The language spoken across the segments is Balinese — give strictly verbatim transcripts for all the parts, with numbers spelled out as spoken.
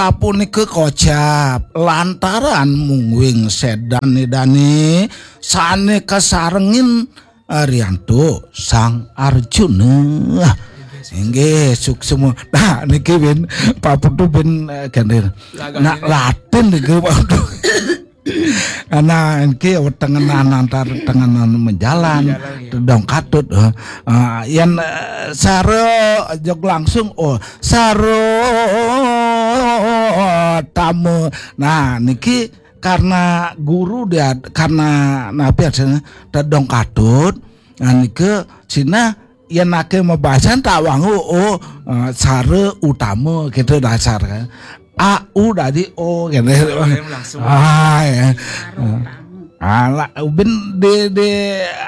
Sapunika kocap lantaran mungguing sedan Ida dané sané kasarengin, eh, riantuk Sang Arjuna. Inggih, suksma. Nah, niki bin paputu bin, eh, gendir. Nah, latin niki, waduh. Nah, niki wetengenan antar tengenan menjalan, tedong katut, eh. Ah, yen, eh, sara jog langsung, oh, sara tama. Nah, niki karena guru dia, karena napi aksana tedong katut, nah, nika sinah yen ake mabasan tak wangu, oh, eh, sara utama gitu dasar kan. A U dadi O gitu. Langsung. Ah, ya. Alah, ubin de, de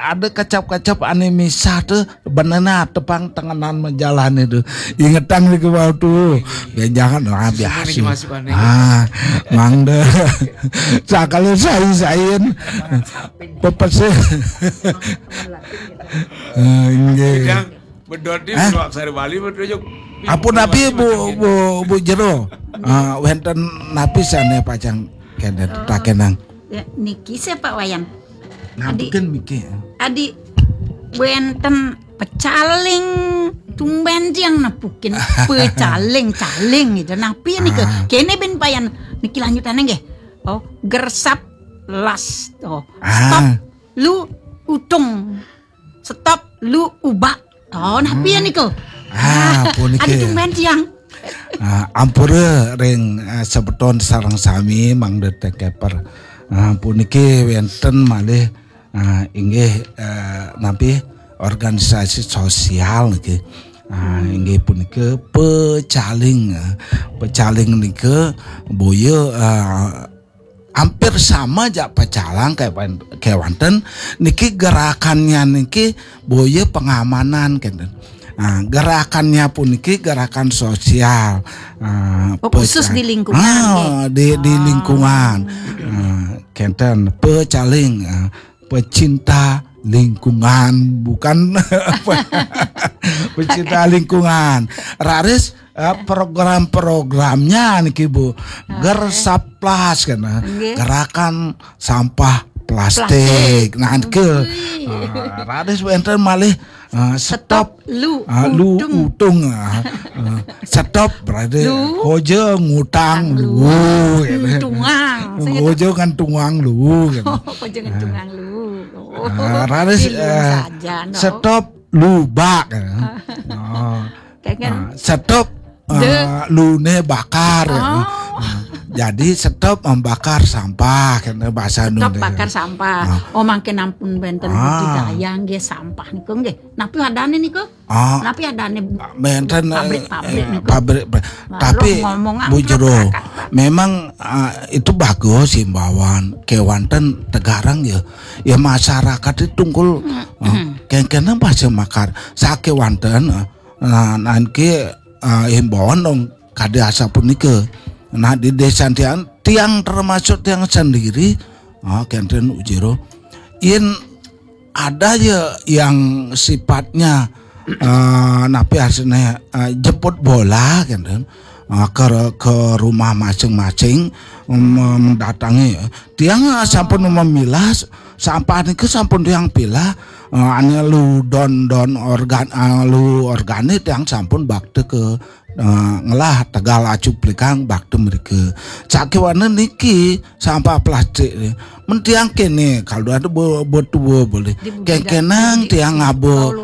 ada kecap-kecap ane misah tuh benena tepang tengenan menjalan itu. Ingetang di kebawah tuh. Ya jangan lah biasa. Ah, mangda. Sakala sai-sain. Pepese. Eh, inggih. Bedot di Hah? Aksara Bali betul. Ampun napi Bu, Bu, Bu Jero. Ah, wenten napi sane pacang kenten takenang. Ya, niki saya Pak Wayan. Adi, napiken miki. Adi wenten pecaling tumben tiang napukin pecaling-caling gitu. Napi nika? Ah. Kene ben payan niki lanjutane nggih. Oh, gersap las. Oh, stop. Ah. Lu utung. Stop lu ubak. Oh, napi ya niku? Ah, puniki. Adi tumben tiang. Ah, ampura ring, ah, sebeton sareng sami mangda tekeper. Ah, puniki wenten malih, ah, inggih, eh, napi organisasi sosial niki. Ah, inggih punika pecaling, eh, pecaling nika boya, eh, hampir sama jak pecalang kewan-, kewanten niki gerakannya niki boya pengamanan kenten. Nah, gerakannya puniki gerakan sosial. Nah, oh, khusus peca-, di lingkungan, ah, nggih. Di, di lingkungan. Nah, kenten pecaling, ah, pecinta lingkungan, bukan pecinta lingkungan. Raris, eh, program-programnya niki, Bu. Gersaplas kan, eh. Nggih. Gerakan sampah plastik. Plastik. Nah, niki. Wih. Eh, raris wenten malih, eh, stop, stop lu, eh, lu utung. Utung, eh, eh, stop berarti lu. Koja ngutang lu, gitu. Ngentungang. Koja ngentungang lu, gitu. Koja ngentungang lu. Oh. Eh, raris, eh, saja, no. Stop lubak, ya. Oh. Kayak kan. Ah, stop, de. Ah, lune bakar, ya. Oh. Ah, jadi stop membakar sampah, kan bahasa Indonesia. Stop bakar sampah. Ah. Oh, mangkin ampun wenten budidaya nggih sampah niku nggih. Napi adane niku? Ah. Napi adane wenten, pabrik-pabrik, eh, niku? Pabrik, pa-, tapi ngomong Bu Jero, memang, ah, itu bagus himbauan kewanten tegarang ya. Ya masyarakat itu tungkul, ah, kengkenen pasti makar. Sakewanten, ah, Nah, nangke, eh, himbauan dong kade asapunika. Nah, di desa tiang, tiang termasuk tiang sendiri, ah, kenten Bu Jero. Yen ada ya yang sifatnya, eh, napi asline, eh, jemput bola kenten. Ah, ke, ke rumah masing-masing, mem-, mendatangi. Tiang, ah, sampun memilah sampah niki sampun tiang pilah, eh, ane lu don-don organ, eh, lu organik tiang sampun bakti ke, eh, ngelah tegal acuplikang bakti mriki. Sakewanten niki sampah plastik. Men tiang kene, kalau ada be-, betua boleh. Kengkenang tiang ngaba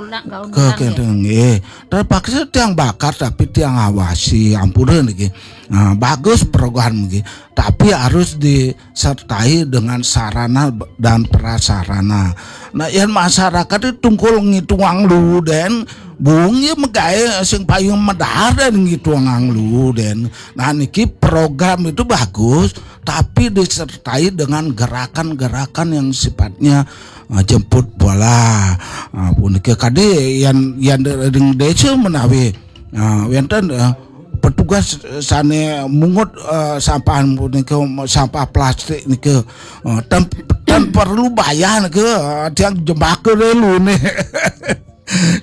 ke kenten nggih. Terpaksa tiang bakar tapi tiang awasi, ampura niki. Nah, bagus program niki. Tapi harus di sertai dengan sarana dan prasarana. Nah, yen masyarakat itu tungkul ngitungang luwu den, bung ya megawe sing paling medar den ngitungang luwu den. Nah, niki program itu bagus, tapi disertai dengan gerakan-gerakan yang sifatnya, eh, jemput bola. Ah, punika kadi yen, yen ring desa menawi Nah, wenten, eh, petugas sane mungut, eh, sampah punika, sampah plastik nika, eh, tan, tan perlu bayar nika, eh, tiang jembaka dulu nih.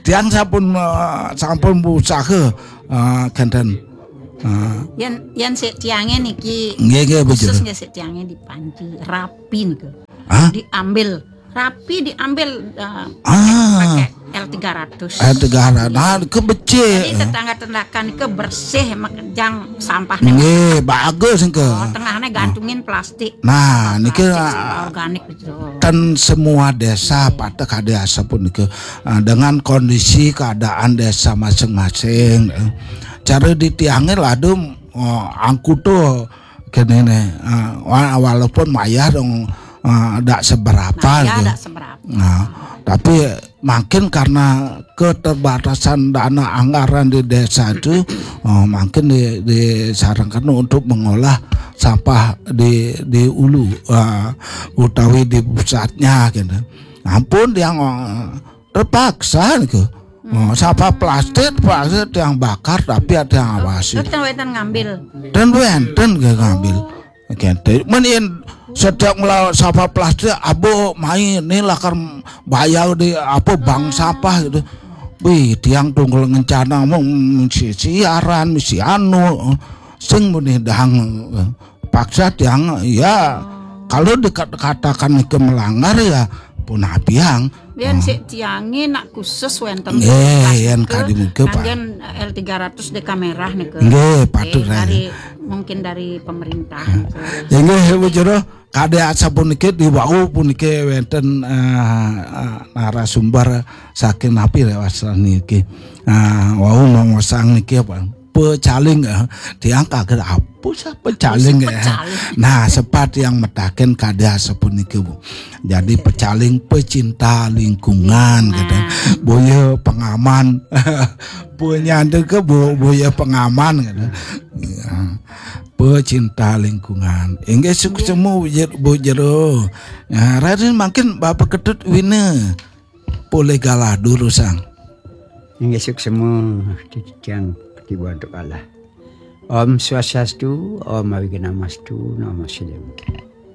Tiang sampun, eh, sampun berusaha, eh, kenten. Ah. Yan yan sik tiangé niki. Nggih, nggih, Bu Jero. Khusus nggih sik tiangé di Panji, rapi niku. Hah? Diambil, rapi diambil, eh, ah, pakai L tiga ratus. L tiga ratus. Nah, ke becik. Jadi tetangga-tetangga niku bersih, makejang sampahnya. Nggih, bagus niku. Oh, tengahnya gantungin plastik. Nah, niki plastik organik gitu. Ten semua desa pateh kade asapunika, eh, dengan kondisi keadaan desa masing-masing, eh. Cara ditiangin ladu, eh, angkuto kene ne, eh, wa-, walaupun mayar dong, eh, dak seberapa. Nah, ya, gitu. Dak seberapa. Nah, tapi makin karena keterbatasan dana anggaran di desa itu, oh, makin di, disarangkan untuk mengolah sampah di di ulu, eh, utawi di pusatnya gitu. Ampun yang, eh, terpaksa gitu. Oh, sampah plastik, plastik yang bakar tapi ada yang awasi. Terus kan wetan ngambil. Dan wenten ke ngambil. Kente, men yen sedek ngelawan sampah plastik, abo mai ni lakar bayar di apa bank sampah gitu. Wih, tiang tunggal ngencana mau mesti siaran, mesti anu, sing muni dang paksa tiang, ya, kalau dikatakan ke melanggar ya pun apiang. Yen sik tiangé nak khusus wenten. Nggih, yen kadi mungkin, Pak. Kanggen L tiga ratus D K merah niku. Nggih, patut. Nggih, dari, mungkin dari pemerintah niku. Inggih, Bu Jero, kade asapuniki di wau puniki wenten, eh, eh, narasumber saking napi lewas niki. Ah, wau mongosang niki apa? Pecaling, eh. Tiang kaget apa sih pecaling, eh? Pecaling. Nah, sepat yang metaken kade asapuniki, Bu. Jadi pecaling pecinta lingkungan, kata. Boya pengaman. Punya ke bu, boya pengaman, kata. Ya. Pecinta lingkungan. Inggih suksma, Bu Jer-, Bu Jero. Ya, Raden mangkin Bapak Ketut Wina. Polih galah durusang. Inggih suksma titiang ketiba untuk Allah. Om Swastiastu, Om Awighnamastu, Namo Siddham.